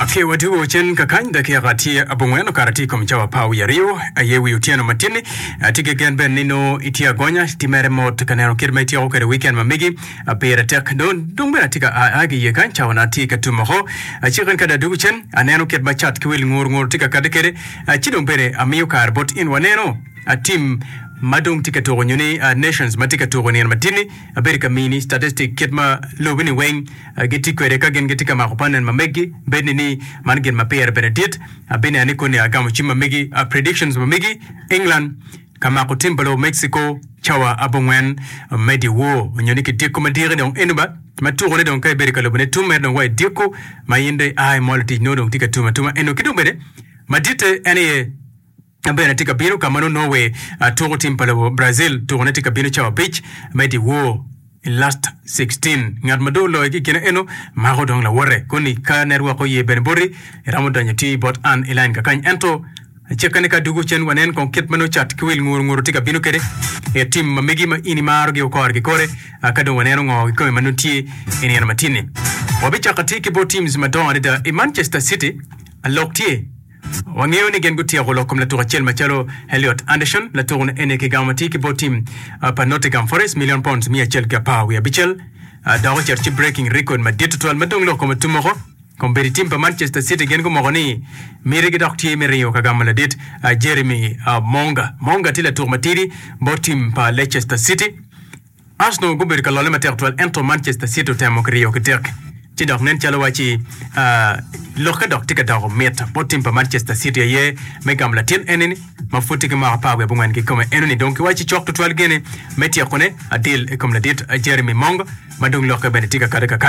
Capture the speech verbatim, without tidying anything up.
Ake wadwogo cen kakany dakika tye abongwen okato tye i kom cawa apar wiye aryo aye wi otyeno matini. Atye ki gen bene ni nongo itye agonya ti mere mot ka neno kit ma ityeko kwede weekend ma megi pire tek. Dong dong bene atye ka a ki iye kany cawa na tye ka tum oko. Aciko in ka dong adwogo cen aneno kit ma cat ki wil ngur ngur tye ka kati kwede ci dong bene amiyo kare bot in waneno tim ma dong tye ka tuko nyo ni nations ma tye ka tuko nino matini. Abedo ka mini statistic kit ma lobi-ni weng gitye kwede ka gin gitye ka mako panen ma meggi. Bed ni ni man gin ma pire bene dit. Abineno ni koni agamo cim ma megi, predictions ma megi. England ka mako tim pa lobo Mexico cawa abongwen me dyewor onyo ni ki dyeko madiki dong eno ba ma tukone dong ka ibedo ka lubone tum mere dong wa i dyeko ma in dong ia imolo tic nongo dong tye ka tum atuma eno ki dong bene maditte en aye Ma bene tye ka bino ka ma nongo Norway tuko tim pa lobo Brazil tukone tye ka bino cawa abic me dyewor i last sixteen. Ngat ma dong oloyo ki i kine eno mako dong lawote koni ka network oye bene boti iromo donyo ti bot an i line kakany ento cikke ni ka dugo cen wanen kong kit ma nongo cat ki wil nguru nguru tye ka bino kede i tim ma megi ma in imaro gi okore ki kore ka dong waneno ngo kikome ma nongo tye i nino matin-ni. Wabicako atir ki bot teams madongo adada i Manchester City lok tye. Wangeyo ni gin gutyeko lok kom latuk acel macalo Elliot Anderson. Latuk-ni eni kigamo ma tye ki bot tim pa Nottingham Forest million pounds miya acel ki apar wiye abicel dok ocito ci breaking record madit tutwal ma dong lok kome tum woko. Kombeddi tim pa Manchester City gin gumoko ni mitigi dok tye me ringo ka gamo ladit Jeremy Monga. Monga tye latuk matidi bot tim pa Leicester City. Arsenal gubedo ka lolle matek twal ento Manchester City otemo ki riyo ki tek ci dok nen calo waci lokke dok tye ka doko mit bot tim pa Manchester City aye me gamo latin enini ma pud tye ki mwaka apar wiye abongwen kikome enoni dong kiwaci cok tutwal gene me tyekone adil i kom ladit Jeremy Mongo ma dong lokke bene tye ka kati kakany.